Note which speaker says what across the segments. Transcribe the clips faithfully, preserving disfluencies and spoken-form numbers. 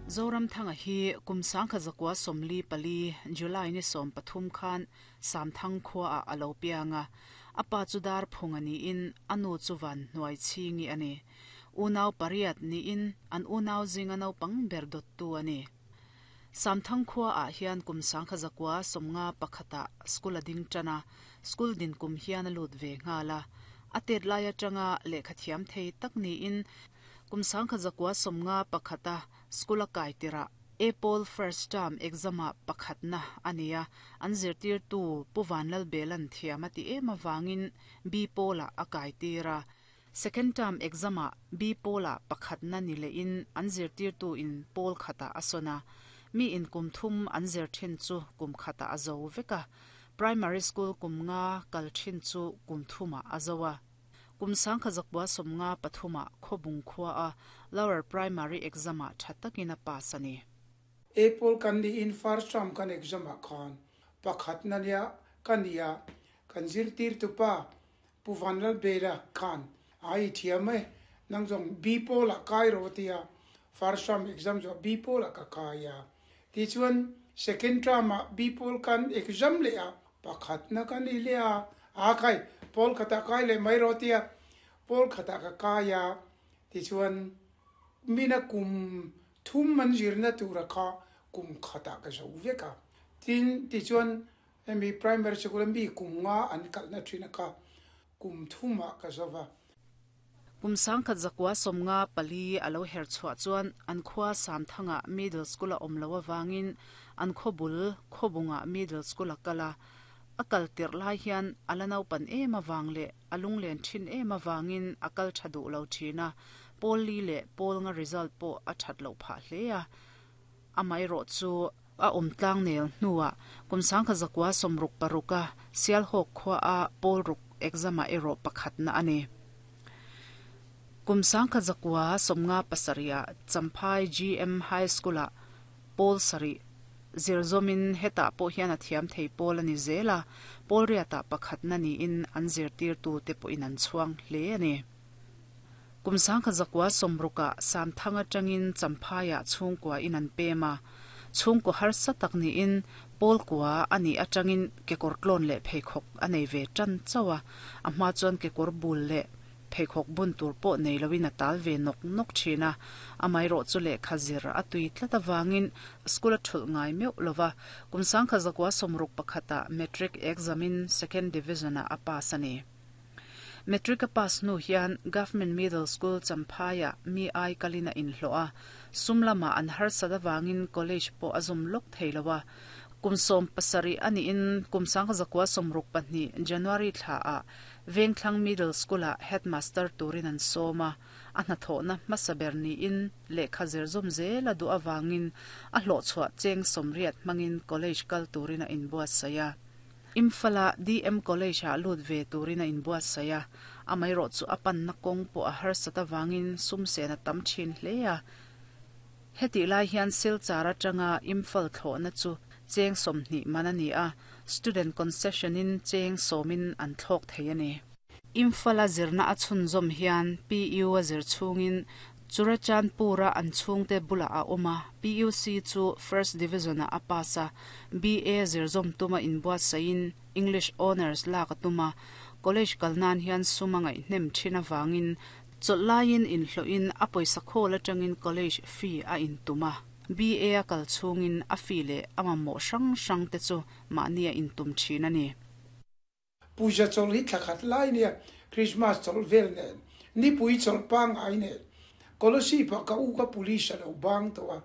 Speaker 1: Zoramthanga hi kum sangkhat zakua sawmli pali July ni sawm pathum khan Samthang khuaah a lo piang a, a pa chu Darphung a niin a nu chu Van Hnuai Chhingi a ni. Unau pariat niin an unau zinga naupang ber dawttu a ni. Samthang khuaah hian kum sangkhat zakua sawmnga pakhatah school a ding tan a, school din kum hian a lut ve nghal a. A tet lai atanga lehkha thiam thei tak niin kum sangkhat zakua sawmnga pakhata school a kai tirah Apple first term exam ah pakhatna a ni a, an zirtirtu Pu Vanlalbelan thiam a ti em avangin B pawlah a kai tir a. Second term exam ah B pawlah pakhatna ni lehin an zirtirtu in pawl khatah a sawn a, mi in kum thum an zir thin chu kum khatah a zo vek a, primary school kum nga kal thin chu kum thumah a zo a. Kum sangkhat zakua sawmnga pathumah Khawbung khua a lower primary exam ah tha takin a pass a ni.
Speaker 2: Apple kan ni in first term kan exam ah khan pakhatna nia ka ni a, kan zirtirtu pa Pu Vanlalbela khan a i thiam e, nang zawng B pawlah kai rawh tia first term exam zawh B pawlah ka kai a. Tichuan second term ah B pawl kan exam leh a, pakhatna ka ni leh a, a khai pawl khatah kai leh mai rawh tia pawl khatah ka kai a. Tichuan mina kum thum an zirna tura kha kum khatah ka zo vek a. Tin tichuan hemi primary sikul a mi kum nga an kalhna thin a kha kum thumah ka zo va.
Speaker 1: Kum sangkhat zakua sawmnga pali a lo her chhuah chuan an khua Samthanga middle school a awm lo avangin an khawbul Khawbungah middle school a kal a. A kal tirh lai hian a la naupan em avang leh a lunglen thin em avangin a kal tha duh lo thin a, pawl li leh pawl nga result pawh a that loh phah hle a. Amaherawh chu a awm tlang nel hnuah kum sangkhat zakua sawmruk paruk a Sialhawk khua a pawl ruk exam ah erawh pakhatna a ni. Kum sangkhat zakua sawmnga pasarih ah Champhai G M High School ah pawl sarih zir zawmin hetah pawh hian a thiam thei pawl a ni zel a, pawl riatah pakhatna niin an zirtirtu te pawhin an chhuang hle a ni. Kum sangkhat zakua sawmrukah Samthang atangin Champhaiah chhungkua in an pem a, chhungkaw harsa tak niin pawl kua a nih atangin kekawr tlawn leh pheikhawk a nei ve tan chauh a, a hma chuan kekawr bul leh pheikhawk bun tur pawh nei loin a tal ve nawk nawk thin a, amaherawh chu lehkha zir a tui tlat avangin school a thulh ngai meuh lova, kum sangkhat zakua sawmruk pakhatah matric exam in second division ah a pass a ni. Matric a pass hnu hian Government Middle School Champhaiah mi ai kalin a inhlawh a, sum lamah an harsat avangin college pawh a zum lawk thei lo a. Kum sawm pasarih a niin kum sangkhat zakua sawmruk pahnih January thlaah Vengthlang Middle School-ah headmaster turin an sawm a, a hnathawhna hmasa ber niin lehkha zir zawm zel a duh avangin a hlawhchhuah cheng sawmriat hmangin college kal turin a inbuatsaih a. Imphal-a D M College-ah lut ve turin a inbuatsaih a, amaherawh chu a panna kawng pawh a harsat avangin sum sen a tam thin hle a. Hetih lai hian Silchar atanga Imphal thlawhna chu cheng sawmhnih man a ni a, student concession-in cheng sawmin an thlawk thei a ni. Imphal-a zirna a chhunzawm hian P U a zir chhungin Churachandpur-a an chhungte bulah a awm a, P U C chu First Division-ah a pass a, B A zirzawm tuma inbuatsaihin English Honours lak a tum a, college kal nan hian sum a ngaihhnem thin avangin chawlh laiin inhlawhin a pawisa khawl atangin college fee a intum a, B A a kal chhungin a fee leh a mamawh hrang hrang te chu mahni a intum thin a ni.
Speaker 2: Puja chawlh hi thla khat lai nia, Christmas chawlh vel nen, nipui chawlh pangngai nen, Kolasib ah ka u ka police a lo bang tawh a,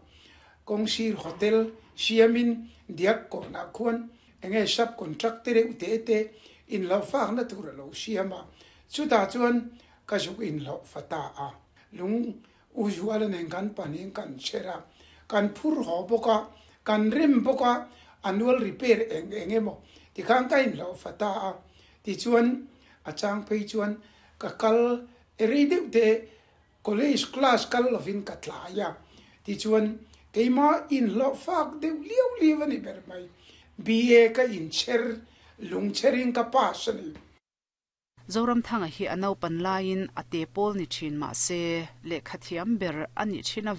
Speaker 2: kawngsir hotel siamin diak kawnah khuan enge sub contract te reuh te te inhlawh fakna tur a lo siam a, chutah chuan ka zuk inhlawh fa ta a, lung u Zuala nen kan pahnihin kan chher a, kan phur haw bawk a, kan rem bawk a, annual repair eng eng emaw tikhan ka inhlawh fa ta a, tichuan a chang phei chuan ka kal rei deuh te college class kal lovin ka tlai a, tichuan keimah inhlawh fak deuh liau liau a ni ber mai. B A ka inchher lungchherin ka pass a ni.
Speaker 1: Zoramthanga hi a naupan laiin a te pawl ni thin mahse lehkha thiam ber a nih thin avangin